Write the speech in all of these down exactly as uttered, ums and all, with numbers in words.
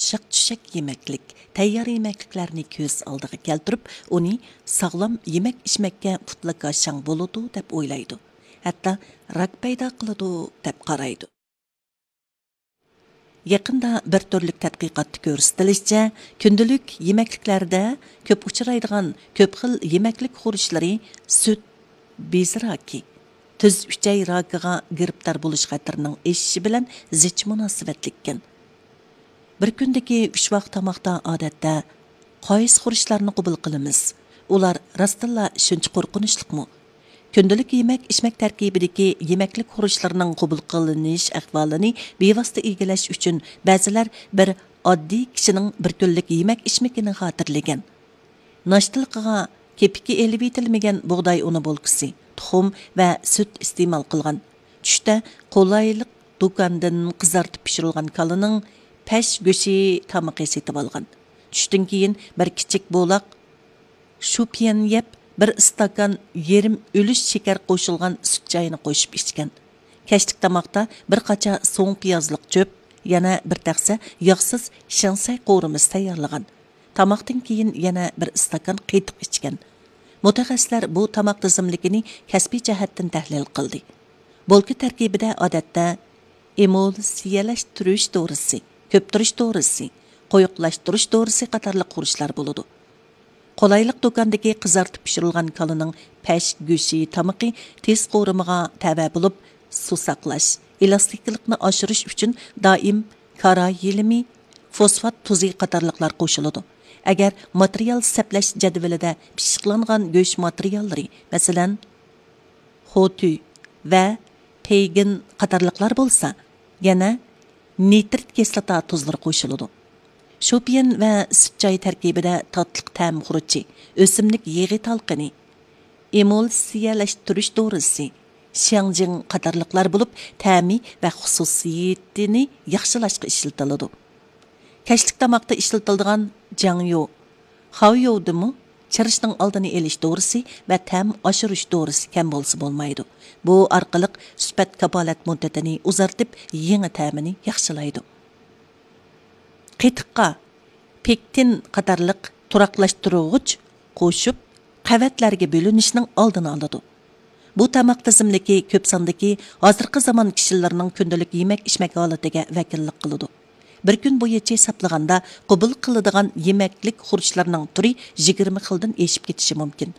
يۇمشاق چۈشەك يېمەكلىك، تەييار يېمەكلىكلەرنى كۆز ئالدىغا كەلتۈرۈپ، ئۇنى ساغلام يېمەك ئىچمەككە پۇتلىكاشاڭ بولىدۇ دەپ ئويلايدۇ. ھەتتا راك پەيدا قىلىدۇ دەپ قارايدۇ. يېقىندا بىر تۈرلۈك تەتقىقاتتا كۆرسىتىلىشىچە، كۈندىلىك يېمەكلىكلەردە كۆپ ئۇچرايدىغان كۆپ خىل يېمەكلىك خۇرۇچلىرى سۈت بېزى راكى، تۈز ئۈچەي راكىغا گىرىپتار بولۇش خەتىرىنىڭ ئېشىشى بىلەن زىچ مۇناسىۋەتلىككەن. بىر كۈندىكى ئۈچ ۋاق تاماقتا ئادەتتە قايسى خۇرۇچلارنى قوبۇل قىلىمىز؟ ئۇلار راستتىنلا شۇنچە قورقۇنچلۇقمۇ؟ كۈندىلىك يېمەك-ئىچمەك تەركىبىدىكى يېمەكلىك خۇرۇچلىرىنىڭ قوبۇل قىلىنىش ئەھۋالىنى بىۋاسىتە ئىگىلەش ئۈچۈن، بەزىلەر بىر ئاددىي كىشىنىڭ بىر كۈنلۈك يېمەك-ئىچمىكىنى خاتىرىلىگەن. ناشتىلىقىغا كېپىكى ئېلىۋېتىلمىگەن بۇغداي ئۇنى بولكىسى، تۇخۇم ۋە سۈت ئىستېمال قىلغان. چۈشتە قولايلىق دۇكاندىن قىزارتىپ پىشۇرۇلغان كالىنىڭ پەش گۆشى تامىقى سېتىۋالغان. چۈشتىن كېيىن بىر كىچىك بولاق شۇپيەن يەپ، بىر ئىستاكان يېرىم ئۈلۈش شېكەر قوشۇلغان سۈت چاينى قوشۇپ ئىچكەن. كەچلىك تاماقتا بىر قاچا سوڭ پىيازلىق چۆپ، يەنە بىر تەخسە ياغسىز شىڭسەي قورۇمىسى تەييارلىغان. تاماقتىن كېيىن يەنە بىر ئىستاكان قېتىق ئىچكەن. مۇتەخەسسىسلەر بۇ تاماق تىزىملىكىنى كەسپىي جەھەتتىن تەھلىل قىلدى. بولكا تەركىبىدە ئادەتتە ئېمۇلسىيەلەشتۈرۈش دورىسى، كۆپتۈرۈش دورىسى، قويۇقلاشتۇرۇش دورىسى قاتارلىق خۇرۇچلار بولىدۇ. قولايلىق دۇكاندىكى قىزارتىپ پىشۇرۇلغان كالىنىڭ پەش گۆشى تامىقى تېز قورۇمىغا تەۋە بولۇپ، سۇ ساقلاش، ئېلاستىكلىقنى ئاشۇرۇش ئۈچۈن دائىم كاراي يېلىمى، فوسفات تۇزى قاتارلىقلار قوشۇلىدۇ. ئەگەر ماتېرىيال سەپلەش جەدۋىلىدە پىششىقلانغان گۆش ماتېرىياللىرى، مەسىلەن، خوتۈ ۋە پېيگىن قاتارلىقلار بولسا، يەنە نىترىت كىسلاتا تۇزلىرى قوشۇلىدۇ. شۇپيەن ۋە سۈت چاي تەركىبىدە تاتلىق تەم خۇرۇچى، ئۆسۈملۈك يېغى تالقىنى، ئېمۇلسىيەلەشتۈرۈش دورىسى، شياڭجىڭ قاتارلىقلار بولۇپ، تەمى ۋە خۇسۇسىيىتىنى ياخشىلاشقا ئىشلىتىلىدۇ. كەچلىك تاماقتا ئىشلىتىلىدىغان جاڭيۇ، خاۋيۇدىمۇ چىرىشنىڭ ئالدىنى ئېلىش دورىسى ۋە تەم ئاشۇرۇش دورىسى كەم بولسا بولمايدۇ. بۇ ئارقىلىق سۈپەت كاپالەت مۇددىتىنى ئۇزارتىپ، يېڭى تەمىنى ياخشىلايدۇ. قېتىققا پېكتىن قاتارلىق تۇراقلاشتۇرغۇچ قوشۇپ، قەۋەتلەرگە بۆلۈنۈشنىڭ ئالدىنى ئالىدۇ. بۇ تاماق تىزىملىكى كۆپ ساندىكى ھازىرقى زامان كىشىلىرىنىڭ كۈندىلىك يېمەك-ئىچمەك ھالىتىگە ۋەكىللىك قىلىدۇ. بىر كۈن بويىچە ھېسابلىغاندا، قوبۇل قىلىدىغان يېمەكلىك خۇرۇچلىرىنىڭ تۈرى يىگىرمە خىلدىن ئېشىپ كېتىشى مۇمكىن.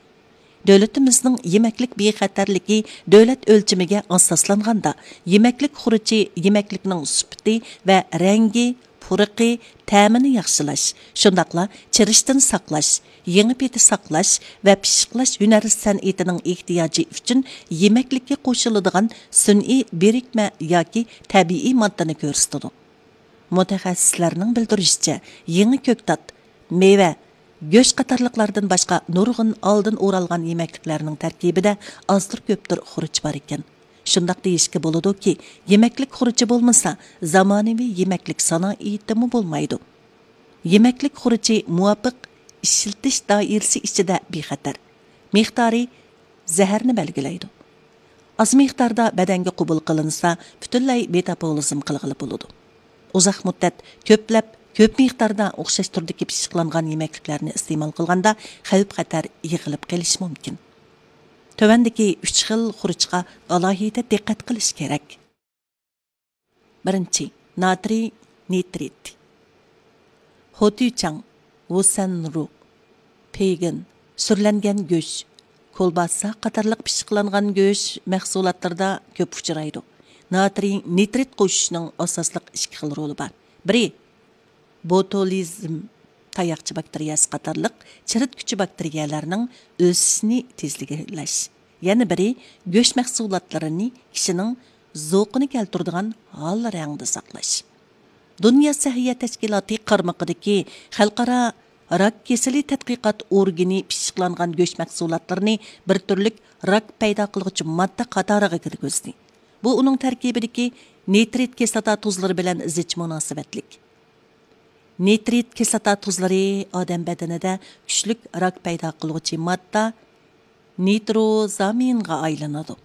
دۆلىتىمىزنىڭ يېمەكلىك بىخەتەرلىكى دۆلەت ئۆلچىمىگە ئاساسلانغاندا، يېمەكلىك خۇرۇچى يېمەكلىكنىڭ سۈپىتى ۋە رەڭگى، پۇرىقى، تەمىنى ياخشىلاش، شۇنداقلا چىرىشتىن ساقلاش، يېڭى پېتى ساقلاش ۋە پىششىقلاش ھۈنەر سەنئىتىنىڭ ئېھتىياجى ئۈچۈن يېمەكلىككە قوشۇلىدىغان سۈنئىي بىرىكمە ياكى تەبىئىي ماددىنى كۆرسىتىدۇ. مۇتەخەسسىسلەرنىڭ بىلدۈرۈشىچە، يېڭى كۆكتات، مېۋە، گۆش قاتارلىقلاردىن باشقا نۇرغۇن ئالدىن ئورالغان يېمەكلىكلەرنىڭ تەركىبىدە ئازدۇر كۆپتۇر خۇرۇچ بار ئىكەن. شۇنداق دېيىشكە بولىدۇكى، يېمەكلىك خۇرۇچى بولمىسا، زامانىۋى يېمەكلىك سانائىتىمۇ بولمايدۇ. يېمەكلىك خۇرۇچى مۇۋاپىق ئىشلىتىش دائىرىسى ئىچىدە بىخەتەر. مىقدارى زەھەرنى بەلگىلەيدۇ. ئاز مىقداردا بەدەنگە قوبۇل قىلىنسا، پۈتۈنلەي مېتابولىزم قىلغىلى بولىدۇ. ئۇزاق مۇددەت كۆپلەپ، كۆپ مىقداردا ئوخشاش تۈردىكى پىششىقلانغان يېمەكلىكلەرنى ئىستېمال قىلغاندا، خەۋپ-خەتەر يىغىلىپ قېلىشى مۇمكىن. تۆۋەندىكى ئۈچ خىل خۇرۇچقا ئالاھىدە دىققەت قىلىش كېرەك. بىرىنچى، ناترىي نىترىت. خوتۈچاڭ، ۋۇسەنرۇ، پېيگىن، سۈرلەنگەن گۆش، كولباسا قاتارلىق پىششىقلانغان گۆش مەھسۇلاتلىرىدا كۆپ ئۇچرايدۇ. ناترىي نىترىت قوشۇشنىڭ ئاساسلىق ئىككى خىل رولى بار. بىرى، بوتۇلىزم تاياقچە باكتېرىيەسى قاتارلىق چىرىتكۈچى باكتېرىيەلەرنىڭ ئۆسۈشىنى تېزلىكلەش. يەنە بىرى، گۆش مەھسۇلاتلىرىنى كىشىنىڭ زوقىنى كەلتۈرىدىغان ھال رەڭدە ساقلاش. دۇنيا سەھىيە تەشكىلاتى قارمىقىدىكى خەلقئارا راك كېسىلى تەتقىقات ئورگىنى پىششىقلانغان گۆش مەھسۇلاتلىرىنى بىر تۈرلۈك راك پەيدا قىلغۇچى ماددا قاتارىغا كىرگۈزدى. بۇ ئۇنىڭ تەركىبىدىكى نىترىت كىسلاتا تۇزلىرى بىلەن زىچ مۇناسىۋەتلىك. نىترىت كىسلاتا تۇزلىرى ئادەم بەدىنىدە كۈچلۈك راك پەيدا قىلغۇچى ماددا نىتروزامىنغا ئايلىنىدۇ.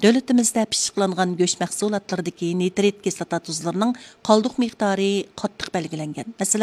دۆلىتىمىزدە پىششىقلانغان گۆش مەھسۇلاتلىرىدىكى نىترىت كىسلاتا تۇزلىرىنىڭ قالدۇق مىقدارى قاتتىق بەلگىلەنگەن. مەسىلەن،